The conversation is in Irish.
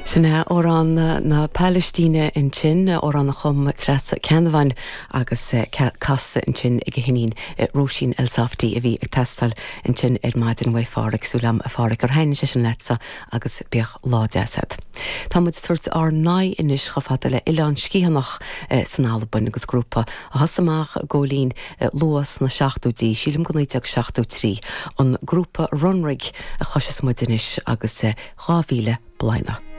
Sin é amhrán na Palaistíne ansin, amhrán a chum Treasa Ceannabháin agus casta ansin ag a hiníon Róisín Elsafty a bhí ag teastáil ansin ar maidin uaidh Pháraic. Súil agam a Pháraic gur thaitnigh sé sin leatsa agus bíodh lá deas agat. Tá muid ag tabhairt ár n-aghaidh anois chomh fada le Oileán Sgitheanach san Albain agus grúpa a thosaigh amach a Ghóilín luath sna seachtóidí, sílim go 1973, an grúpa Runrig a chloisfeas muid anois agus 2000 Bliana.